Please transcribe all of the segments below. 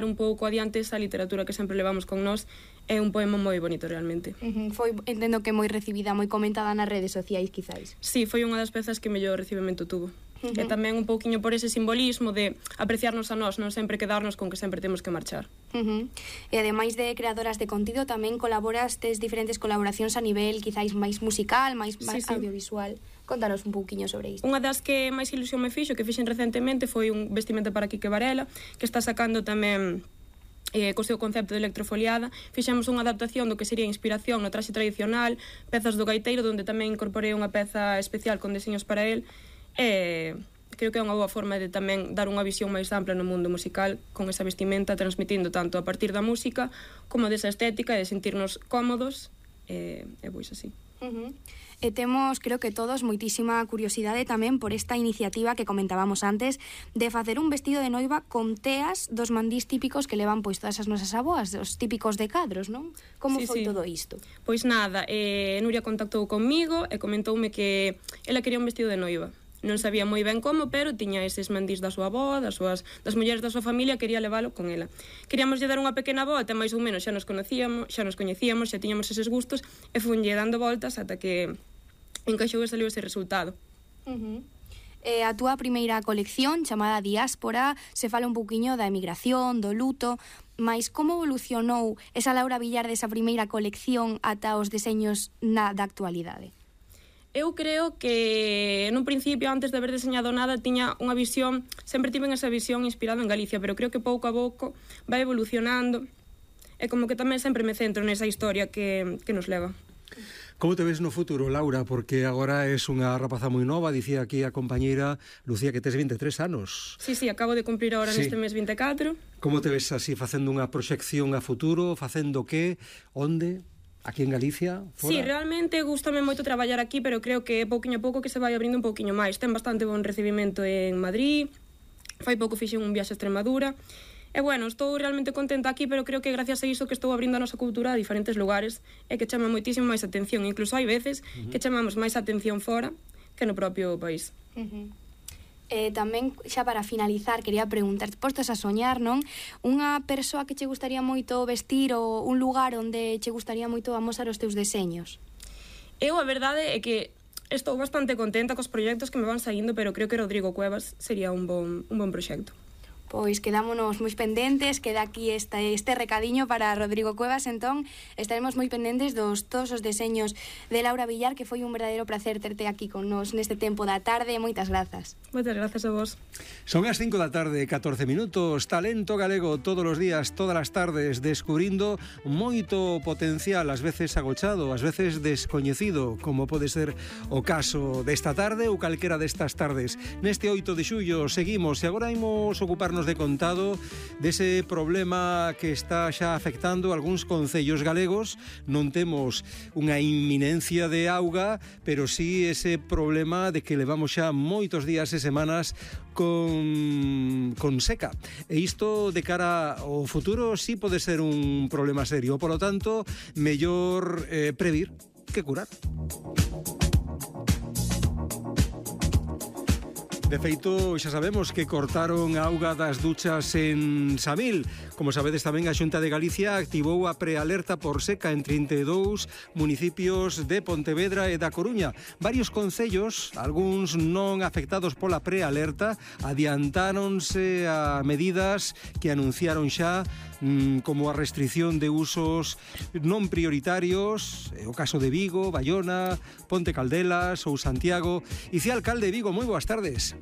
un pouco adiante esa literatura que sempre levamos con nós. É un poema moi bonito realmente. Foi, entendo que moi recibida, moi comentada nas redes sociais, quizáis. Sí, foi unha das pezas que mellor recibimento tuvo. E tamén un pouquiño por ese simbolismo de apreciarnos a nós, non sempre quedarnos con que sempre temos que marchar. E ademais de creadoras de contido, tamén colaboras, tes diferentes colaboracións a nivel quizáis máis musical, máis audiovisual. Contanos un pouquiño sobre isto. Unha das que máis ilusión me fixo, que fixen recentemente, foi un vestimenta para Quique Varela, que está sacando tamén co seu concepto de electrofoliada. Fixemos unha adaptación do que sería inspiración no traxe tradicional, pezas do gaiteiro, onde tamén incorporei unha peza especial con deseños para el. Creo que é unha boa forma de tamén dar unha visión máis ampla no mundo musical con esa vestimenta, transmitindo tanto a partir da música como desa estética e de sentirnos cómodos e pois así. E temos, creo que todos, moitísima curiosidade tamén por esta iniciativa que comentábamos antes de facer un vestido de noiva con teas dos mandís típicos que levan pois todas as nosas aboas, os típicos de cadros, non? Como foi todo isto? Pois nada, Nuria contactou comigo e comentoume que ela quería un vestido de noiva. Non sabía moi ben como, pero tiña eses mandís da súa avó, das mulleres da súa familia, quería levalo con ela. Queríamos lle dar unha pequena volta, máis ou menos xa nos coñecíamos, xa tiñamos eses gustos, e funlle dando voltas ata que encaixou e saliu ese resultado. A túa primeira colección, chamada Diáspora, se fala un pouquiño da emigración, do luto, mas como evolucionou esa Laura Villar desa primeira colección ata os deseños da actualidade? Eu creo que nun principio, antes de haber deseñado nada, tiña unha visión, sempre tiven esa visión inspirada en Galicia, pero creo que pouco a pouco vai evolucionando e como que tamén sempre me centro nesa historia que nos leva. Como te ves no futuro, Laura? Porque agora es unha rapaza moi nova, dicía aquí a compañeira Lucía que tes 23 anos. Sí, acabo de cumplir agora neste mes 24. Como te ves así, facendo unha proxección a futuro, facendo que, onde? Aquí en Galicia? Fora? Sí, realmente gústame moito traballar aquí, pero creo que pouquiño a pouco que se vai abrindo un pouquiño máis. Ten bastante bon recibimento en Madrid, fai pouco fixen un viaxe a Extremadura, e bueno, estou realmente contenta aquí, pero creo que gracias a iso que estou abrindo a nosa cultura a diferentes lugares e que chama moitísimo máis atención. Incluso hai veces que chamamos máis atención fora que no propio país. Tamén, xa para finalizar, quería preguntar, postos a soñar, non? Unha persoa que che gustaría moito vestir ou un lugar onde che gustaría moito amosar os teus deseños? Eu, a verdade, é que estou bastante contenta cos proxectos que me van saindo, pero creo que Rodrigo Cuevas sería un bon proxecto. Pois quedámonos moi pendentes, queda aquí este recadiño para Rodrigo Cuevas, entón estaremos moi pendentes dos todos os deseños de Laura Villar, que foi un verdadeiro placer terte aquí con nos neste tempo da tarde. Moitas grazas. Moitas grazas a vos. Son as 5 da tarde, 14 minutos, talento galego todos os días, todas as tardes, descubrindo moito potencial, ás veces agochado, ás veces descoñecido, como pode ser o caso desta tarde ou calquera destas tardes. Neste 8 de xullo seguimos e agora imos ocuparnos de contado dese problema que está xa afectando algúns concellos galegos. Non temos unha inminencia de auga, pero sí ese problema de que levamos xa moitos días e semanas con seca. E isto de cara ao futuro sí pode ser un problema serio. Por lo tanto, mellor previr que curar. De feito, xa sabemos que cortaron a auga das duchas en Samil. Como sabedes, tamén a Xunta de Galicia activou a prealerta por seca en 32 municipios de Pontevedra e da Coruña. Varios concellos, algúns non afectados pola prealerta, adiantáronse a medidas que anunciaron xa, como a restricción de usos non prioritarios, o caso de Vigo, Baiona, Ponte Caldelas ou Santiago. Icía alcalde de Vigo, moi boas tardes.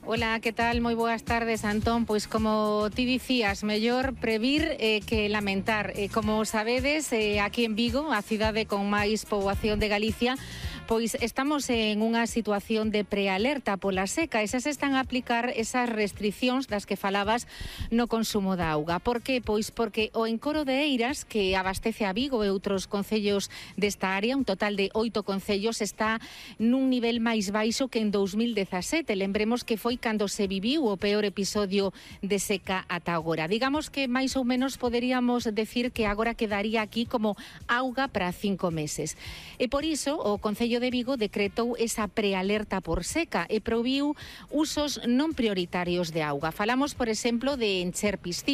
Hola, que tal? Moi boas tardes, Antón. Pois como ti dicías, mellor previr que lamentar. Como sabedes, aquí en Vigo, a cidade con máis poboación de Galicia, pois estamos en unha situación de prealerta pola seca e xa se están a aplicar esas restriccións das que falabas no consumo da auga. Por que? Pois porque o encoro de Eiras, que abastece a Vigo e outros concellos desta área, un total de 8 concellos, está nun nivel máis baixo que en 2017. Lembremos que foi cando se viviu o peor episodio de seca ata agora. Digamos que máis ou menos poderíamos decir que agora quedaría aquí como auga para 5 meses. E por iso o Concello Concello de Vigo decretou esa prealerta por seca e prohibiu usos non prioritarios de auga. Falamos, por exemplo, de encher piscinas,